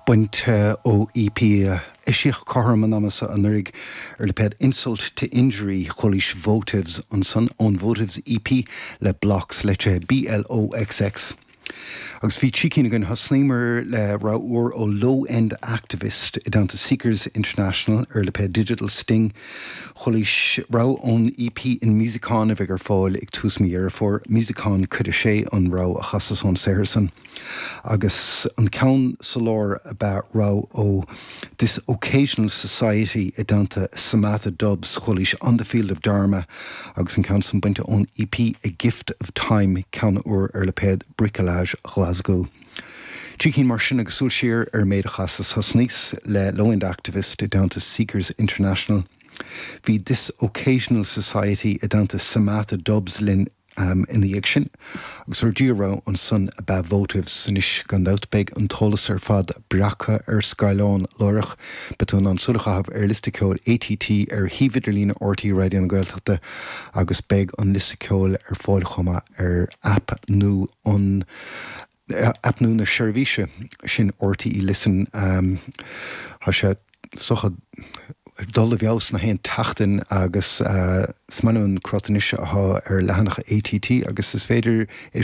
Bainte ó EP a eisíodh cothrom an ama seo anuraidh ar lipéad Insult to Injury, chualaís Votives ansan ón Votives EP le Bloxx, leitrithe B-L-O-X-X. Agus bhí trí cinn againn, thosnaíomar le rogha úr ó Low End Activist i dteannta Seekers International ar lipéad Digital Sting. Chualaís rogha ón EP In Musicon a bheidh ar fáil ag tús mí Dheireadh Fómhair, Musicon Cuid 6 an rogha a chasas ón saothar san. Agus an ceann sa lár ab ea rogha ó This Occasional Society i dteannta Samatha Dubs, chualaís On the Field of Dharma agus an ceann san bainte ón EP A Gift of Time, ceann úr ar lipéad Bricolage Ghlaschú. Trí cinn mar sin agus súil siar ar an méid a chasas. Thosnaíos le Low End Activist i dteannta Seekers International. Bhí This Occasional Society i dteannta Samatha Dubs linn Ina dhiaidh sin, agus ár dtríú rogha ansan ab ea Votives. Anois, gan dabht, beidh an t-eolas ar fad breactha ar scáileán láithreach. Beidh tú in ann súil a chaitheamh ar liosta ceoil ATT ar shuíomh idirlíne RTÉ Raidió na Gaeltachta agus beidh an liosta ceoil ar fáil chomh maith ar aip nua an Aip nua na seirbhíse sin RTÉ Listen, tá sé is dócha ag dul i bhfeabhas na haon tseachtain agus is maith liom an crot anois atá ar leathanach ATT agus is féidir é.